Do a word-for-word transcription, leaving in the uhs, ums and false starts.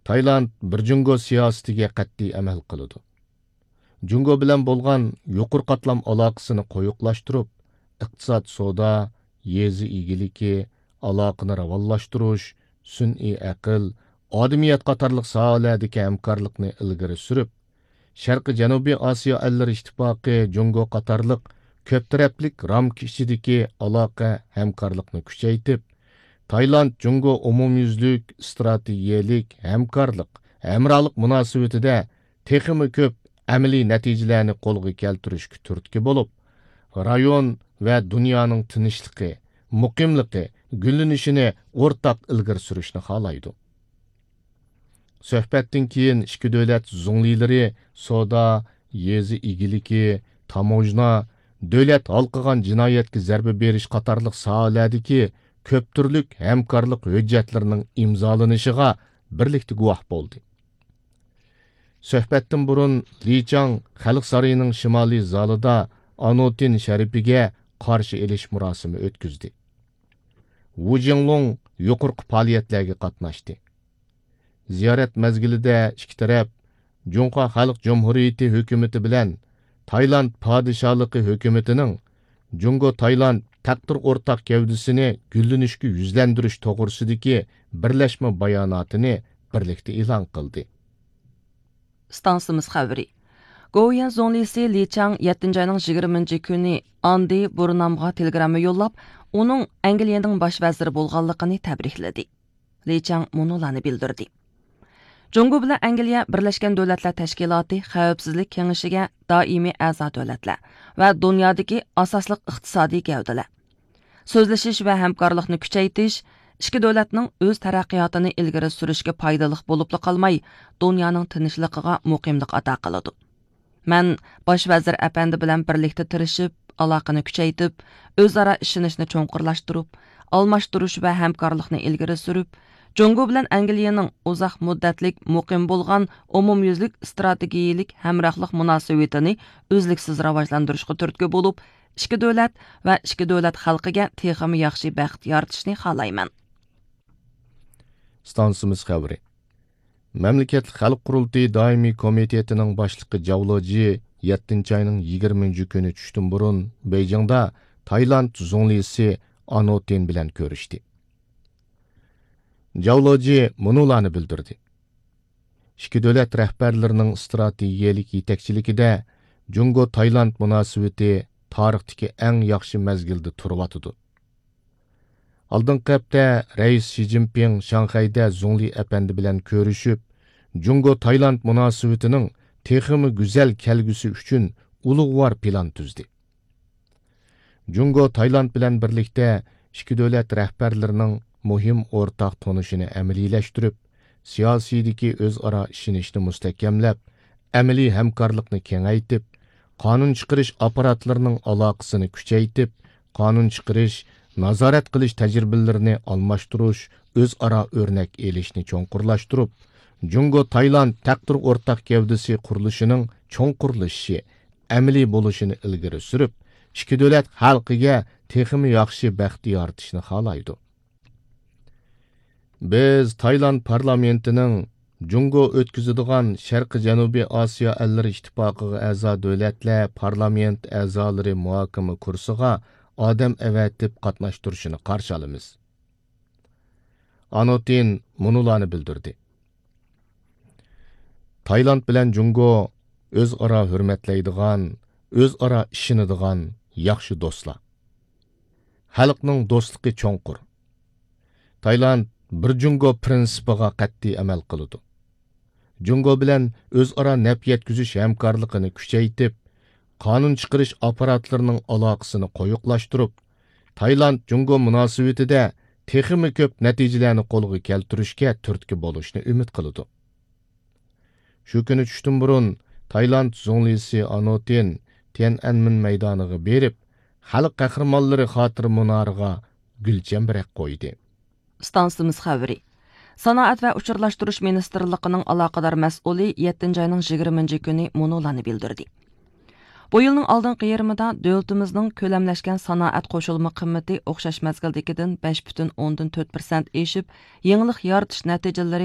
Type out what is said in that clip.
تايلاند بىر جۇڭگو سىياسىتىگە قەتئىي ئەمەل قىلىدۇ. جۇڭگو بىلەن بولغان يۇقىرى قاتلام ئالاقىسىنى قويۇقلاشتۇرۇپ، ئىقتىساد، سودا، يېزا ئىگىلىكى، ئالاقىنى راۋانلاشتۇرۇش، سۈنئىي ئەقىل، ئادەمىيەت قاتارلىق ساھەلەردىكى ھەمكارلىقنى ئىلگىرى سۈرۈپ، شەرقىي جەنۇبىي ئاسىيا ئەللىرى ئىتتىپاقى، جۇڭگو قاتارلىق كۆپ تەرەپلىك رامكا ئىچىدىكى ئالاقە ھەمكارلىقنى كۈچەيتىپ، تايلاند جۇڭگو ئومۇميۈزلۈك ئىستراتېگىيەلىك ھەمكارلىق، ھەمراھلىق مۇناسىۋىتىدە تېخىمۇ كۆپ ئەمەلىي نەتىجىلەرنى قولغا كەلتۈرۈشكە تۈرتكە بولۇپ، رايون ۋە دۇنيانىڭ تىنچلىقى، مۇقىملىقى، گۈللىنىشىنى ئورتاق ئىلگىرى سۈرۈشنى خالايدۇ. سۆھبەتتىن كېيىن ئىككى دۆلەت زۇڭلىلىرى سودا، يېزا ئىگىلىكى، تاموژنا، دۆلەت ھالقىغان جىنايەتكە زەربە بېرىش قاتارلىق ساھەلەردىكى كۆپ تۈرلۈك ھەمكارلىق ھۆججەتلىرىنىڭ ئىمزالىنىشىغا بىرلىكتە گۇۋاھ بولدى. سۆھبەتتىن بۇرۇن لى چاڭ خەلق سارىيىنىڭ شىمالىي زالىدا ئانوتىن شەرىپىگە قارشى ئېلىش مۇراسىمى ئۆتكۈزدى. ۋۇ جىڭلۇڭ يۇقىرىقى پائالىيەتلەرگە قاتناشتى. زىيارەت مەزگىلىدە ئىككى تەرەپ جۇڭخۇا خەلق جۇمھۇرىيىتى ھۆكۈمىتى بىلەن تايلاند پادىشاھلىقى ھۆكۈمىتىنىڭ جۇڭگو تايلاند تەقدىر ئورتاق گەۋدىسىنى گۈللىنىشكە يۈزلەندۈرۈش توغرىسىدىكى بىرلەشمە باياناتىنى بىرلىكتە ئېلان قىلدى. ئىستانسىمىز خەۋىرى. گوۋۇيۈەن زۇڭلىسى لى چاڭ يەتتىنچى ئاينىڭ يىگىرمىنچى كۈنى ئاندى بۇرنامغا تېلېگرامما يوللاپ، ئۇنىڭ ئەنگلىيەنىڭ باش ۋەزىرى بولغانلىقىنى تەبرىكلىدى. لى چاڭ مۇنۇلارنى بىلدۈردى. جۇڭگو بىلەن ئەنگلىيە بىرلەشكەن دۆلەتلەر تەشكىلاتى خەۋپسىزلىك كېڭىشىگە دائىمىي ئەزا دۆلەتلەر ۋە دۇنيادىكى ئاساسلىق ئىقتىسادىي گەۋدىلەر. سۆزلىشىش ۋە ھەمكارلىقنى كۈچەيتىش ئىككى دۆلەتنىڭ ئۆز تەرەققىياتىنى ئىلگىرى سۈرۈشكە پايدىلىق بولۇپلا قالماي، دۇنيانىڭ تىنچلىقىغا مۇقىملىق ئاتا قىلىدۇ. مەن باش ۋەزىر ئەپەندى بىلەن بىرلىكتە تىرىشىپ، ئالاقىنى كۈچەيتىپ، ئۆزئارا ئىشىنىشنى چوڭقۇرلاشتۇرۇپ، ئالماشتۇرۇش ۋە ھەمكارلىقنى ئىلگىرى سۈرۈپ، جۇڭگو بىلەن ئەنگلىيەنىڭ ئۇزاق مۇددەتلىك مۇقىم بولغان ئومۇميۈزلۈك ئىستراتېگىيىلىك ھەمراھلىق مۇناسىۋىتىنى ئۈزلۈكسىز راۋاجلاندۇرۇشقا تۈرتكە بولۇپ، ئىككى دۆلەت ۋە ئىككى دۆلەت خەلقىگە تېخىمۇ ياخشى بەخت يارىتىشنى خالايمەن. ئىستانسىمىز خەۋىرى. مەملىكەتلىك خەلق قۇرۇلتىيى دائىمىي كومىتېتىنىڭ باشلىقى جاۋ لېجى يەتتىنچى ئاينىڭ يىگىرمىنچى كۈنى چۈشتىن بۇرۇن بېيجىڭدا تايلاند زۇڭلىسى ئانوتىن بىلەن كۆرۈشتى. جاۋ لېجى مۇنۇلارنى بىلدۈردى. ئىككى دۆلەت رەھبەرلىرىنىڭ ئىستراتېگىيەلىك يېتەكچىلىكىدە جۇڭگو تايلاند مۇناسىۋىتى تارىختىكى ئەڭ ياخشى مەزگىلدە تۇرۇۋاتىدۇ. ئالدىنقى ھەپتە رەئىس شى جىنپىڭ شاڭخەيدە زۇڭلى ئەپەندى بىلەن كۆرۈشۈپ، جۇڭگو تايلاند مۇناسىۋىتىنىڭ تېخىمۇ گۈزەل كەلگۈسى ئۈچۈن ئۇلۇغۋار پىلان تۈزدى. جۇڭگو تايلاند بىلەن بىرلىكتە ئىككى دۆلەت رەھبەرلىرىنىڭ مۇھىم ئورتاق تونۇشىنى ئەمەلىيلەشتۈرۈپ، سىياسىيدىكى ئۆزئارا ئىشىنىشنى مۇستەھكەملەپ، ئەمەلىي ھەمكارلىقنى كېڭەيتىپ، قانۇن چىقىرىش ئاپپاراتلىرىنىڭ ئالاقىسىنى كۈچەيتىپ، قانۇن چىقىرىش، نازارەت قىلىش تەجرىبىلىرىنى ئالماشتۇرۇش، ئۆزئارا ئۆرنەك ئېلىشنى چوڭقۇرلاشتۇرۇپ، جۇڭگو تايلاند تەقدىر ئورتاق گەۋدىسى قۇرۇلۇشىنىڭ چوڭقۇرلىشىشى، ئەمەلىي بولۇشىنى ئىلگىرى سۈرۈپ، ئىككى دۆلەت خەلقىگە تېخىمۇ ياخشى بەخت يارىتىشنى خالايدۇ. بىز تايلاند پارلامېنتىنىڭ جۇڭگو ئۆتكۈزىدىغان شەرقىي جەنۇبىي ئاسىيا ئەللىرى ئىتتىپاقىغا ئەزا دۆلەتلەر پارلامېنت ئەزالىرى مۇھاكىمە كۇرسىغا ئادەم ئەۋەتىپ قاتناشتۇرۇشىنى قارشى ئالىمىز. ئانوتىن مۇنۇلارنى بىلدۈردى. تايلاند بىلەن جۇڭگو ئۆزئارا ھۆرمەتلەيدىغان، ئۆزئارا ئىشىنىدىغان ياخشى دوستلار. خەلقنىڭ دوستلۇقى چوڭقۇر. تايلاند بىر جۇڭگو پىرىنسىپىغا قەتئىي ئەمەل قىلىدۇ. جۇڭگو بىلەن ئۆزئارا نەپ يەتكۈزۈش ھەمكارلىقىنى كۈچەيتىپ، قانۇن چىقىرىش ئاپپاراتلىرىنىڭ ئالاقىسىنى قويۇقلاشتۇرۇپ، تايلاند جۇڭگو مۇناسىۋىتىدە تېخىمۇ كۆپ نەتىجىلەرنى قولغا كەلتۈرۈشكە تۈرتكە بولۇشنى ئۈمىد قىلىدۇ. شۇ كۈنى چۈشتىن بۇرۇن تايلاند زۇڭلىسى ئانوتىن تيەنئەنمېن مەيدانىغا بېرىپ، خەلق قەھرىمانلىرى خاتىرە مۇنارىغا گۈل چەمبىرەك قويدى. ئىستانسىمىز خەۋىرى. سانائەت ۋە ئۇچۇرلاشتۇرۇش مىنىستىرلىقىنىڭ ئالاقىدار مەسئۇلى يەتتىنچى ئاينىڭ يىگىرمىنچى كۈنى مۇنۇلارنى بىلدۈردى. بۇ يىلنىڭ ئالدىنقى يېرىمىدا دۆلىتىمىزنىڭ كۆلەملەشكەن سانائەت قوشۇلما قىممىتى ئوخشاش مەزگىلدىكىدىن بەش پۈتۈن ئوندىن تۆت پىرسەنت ئېشىپ، يېڭىلىق يارىتىش نەتىجىلىرى